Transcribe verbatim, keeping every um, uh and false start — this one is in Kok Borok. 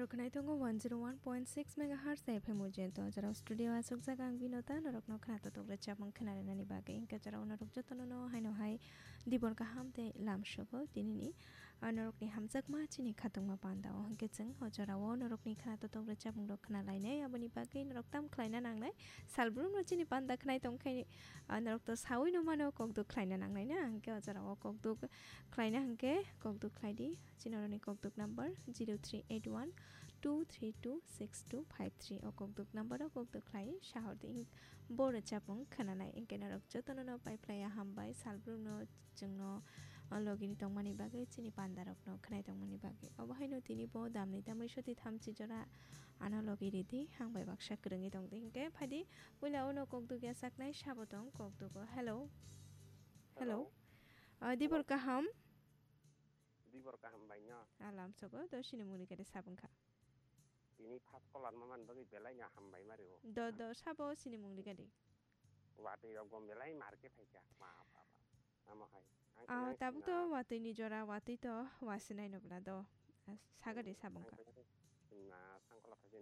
Khwnai tongo one zero one point six megahertz F M o jento. Jora studio aswk jaga ang Binota, norokno khwnato tokre chapmung khwnarinani bagwi. Hwnkhe jora norok jotono no haino hai dibor kaham tei lam sugo tinini, ah, norokni hamjakma chini khatungma panda o. Hwnkhe chwng o jorao norokni khwnato tokre chapmung rok khwnalainai, aboni bagwi norok tam khlaina nangnai. Salbrumno chini panda khwnai tongkhe, ah, norok to saui no mano, kokduk khlaina nangnai na. Hwnkhe o jorao kokduk khlaina hwnkhe kokduk khlai di. Chini oroni kokduk number zero three eight one two three two six two five three. O kokduk number o kokduk khlai sahor di. Bo rwchapmung khwnanai. Hwnkhe norok jotono no pai phlaiya hambai. Salbrumno chwngno o logini tongmani bagwi, chini pandarokno khwnai tongmani bagwi. Obo haino tini bo damni tamwi soti thamchi jora ano logi ridi. Hambai baksa kwrwngwi tongdi. Hwnkhe phaidi puila uno kokduk yachaknai sabo tong kokdugo. Hello. Hello. Hello. Ah, dibor kaham. Dibor kaham bai no. Alam sogo, do sini muni kade sabung kha. Tini first caller ma man bagwi belai no hambai mari o. Do, do, sabo sini mungni gadi. Watwi rok gom belai mar khe phaikha. Ma, ba, ba. Amo hai. Ang Ah, khe tabuk to na watwi ni jora, watwi to wasinai no bla do. Ah, sagadi sabung kha. Ang khe na